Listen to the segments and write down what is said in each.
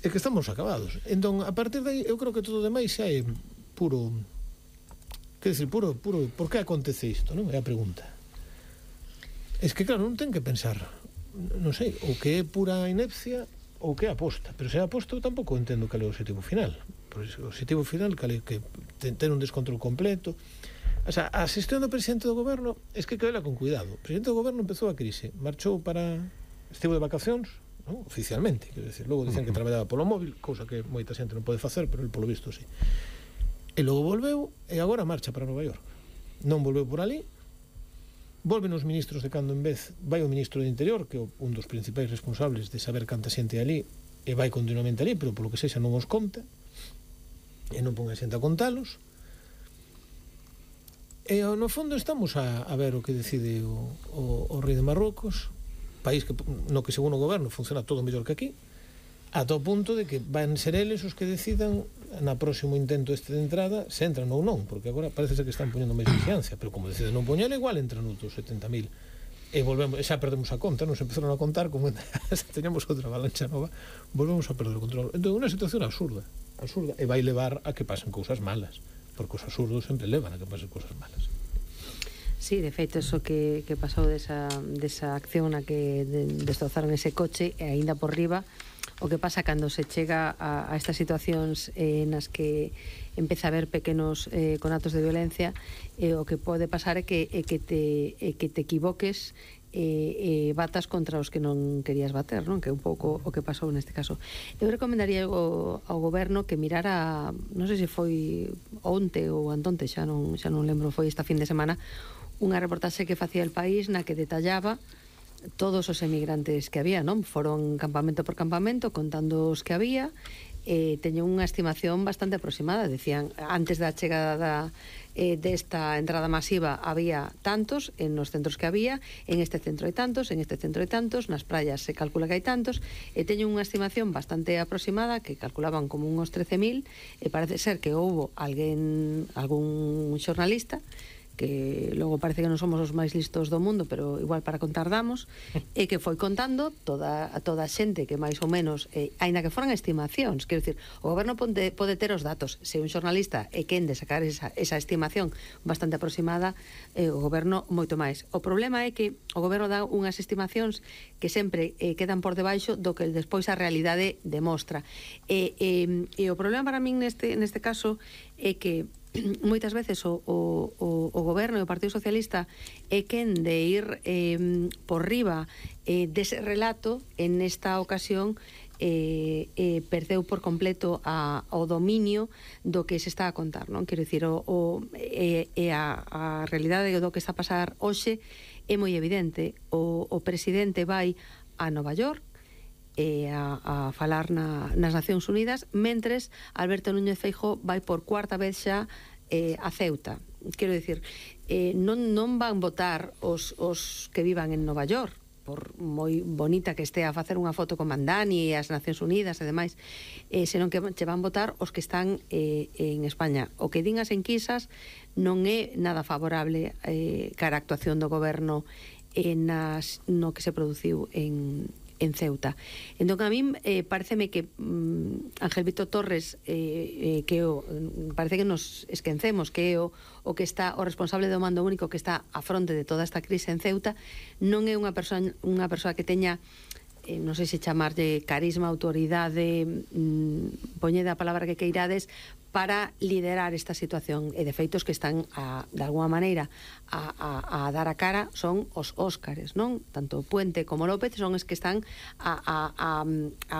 é que estamos acabados. Entón, a partir de aí, eu creo que todo o demais xa é puro... Quer dizer, puro... Por que acontece isto, non? É a pregunta. É que, claro, non ten que pensar, non sei, o que é pura inepcia ou que é aposta. Pero se é aposta, eu tampouco entendo cal é o objetivo final. Por o objetivo final, cal é que ten un descontrol completo. O sea, a xestión do presidente do goberno é que vela con cuidado. O presidente do goberno empezou a crise, marchou para... estivo de vacacións, non? Oficialmente, quero decir, logo dicen que traballaba polo móvil, cousa que moita xente non pode facer, pero el polo visto sí. E logo volveu e agora marcha para Nova York. Non volveu por ali, volven os ministros de cando en vez, vai o ministro de Interior, que é un dos principais responsables de saber canta xente ali, e vai continuamente ali, pero polo que sexa non os conta, e non pon a xente a contalos. E no fondo estamos a ver o que decide o rei de Marrocos, país que, no que según o goberno funciona todo mellor que aquí, ata o punto de que van ser eles os que decidan na próximo intento de entrada se entran ou non, porque agora parece ser que están poñendo máis vigilancia, pero como deciden non poñer, igual entran outros 70.000 e volvemos, xa perdemos a conta, nos empezaron a contar como teníamos outra avalancha nova, volvemos a perder o control. Entón, unha situación absurda, e vai levar a que pasen cousas malas, porque os absurdos sempre levan a que pasen cousas malas. Sí, de feito, eso que pasou desa acción na que destrozaron ese coche e aínda por riba, o que pasa cando se chega a estas situacións nas que empeza a haber pequenos conatos de violencia, o que pode pasar é que te equivoques e batas contra os que non querías bater, non? Que é un pouco o que pasou neste caso. Eu recomendaría ao goberno que mirara, non sei se foi onte ou antonte, xa non lembro, foi esta fin de semana, unha reportaxe que facía El País na que detallaba todos os emigrantes que había, non? Foron campamento por campamento contando os que había, teñen unha estimación bastante aproximada. Decían, antes da chegada desta entrada masiva había tantos en os centros que había, en este centro hai tantos, en este centro hai tantos, nas praias se calcula que hai tantos, e teñen unha estimación bastante aproximada que calculaban como uns 13.000, e parece ser que houbo algún xornalista que logo parece que non somos os máis listos do mundo, pero igual para contar damos, e que foi contando toda a xente que máis ou menos, aínda que foran estimacións, quero dicir, o goberno pode ter os datos, se un xornalista é quen de sacar esa estimación bastante aproximada, o goberno moito máis. O problema é que o goberno dá unhas estimacións que sempre quedan por debaixo do que despois a realidade demostra. E o problema para min neste caso é que moitas veces o goberno e o Partido Socialista é quen de ir por riba dese relato. En esta ocasión perdeu por completo o dominio do que se está a contar, non? Quero dicir, a realidade do que está a pasar hoxe é moi evidente. O presidente vai a Nova York a falar nas Nacións Unidas, mentres Alberto Núñez Feijóo vai por cuarta vez xa a Ceuta. Quero dicir, non van votar os que vivan en Nova York, por moi bonita que estea a facer unha foto con Mandani e as Nacións Unidas e demais, senón que che van votar os que están en España. O que din as enquisas non é nada favorable cara a actuación do goberno no que se produciu en Ceuta. Entón, a min pareceme que Ángel Víctor Torres parece que nos esquecemos que é o que está o responsable do mando único que está a fronte de toda esta crise en Ceuta, non é unha persoa que teña non sei se chamarlle carisma, autoridade, poñede a palabra que queirades, para liderar esta situación, e de feitos que están de alguma maneira a dar a cara son os Óscares, non? Tanto Puente como López son os que están a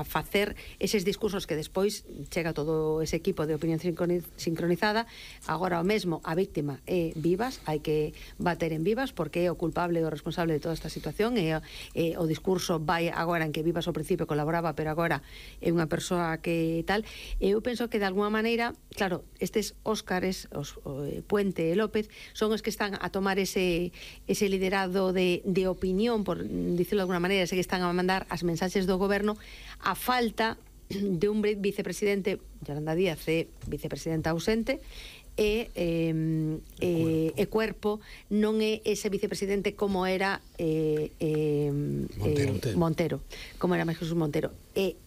facer eses discursos que despois chega todo ese equipo de opinión sincronizada. Agora o mesmo, a víctima é Vivas, hai que bater en Vivas porque é o culpable e o responsable de toda esta situación, e o discurso vai agora en que Vivas ao principio colaboraba, pero agora é unha persoa que tal. Eu penso que de alguma maneira, claro, estes Óscares, Puente e López, son os que están a tomar ese liderado de opinión, por dicirlo de alguna maneira, ese que están a mandar as mensaxes do goberno, a falta de un vicepresidente. Yolanda Díaz é vicepresidenta ausente, e Cuerpo non é ese vicepresidente como era Montero, como era Jesús Montero. E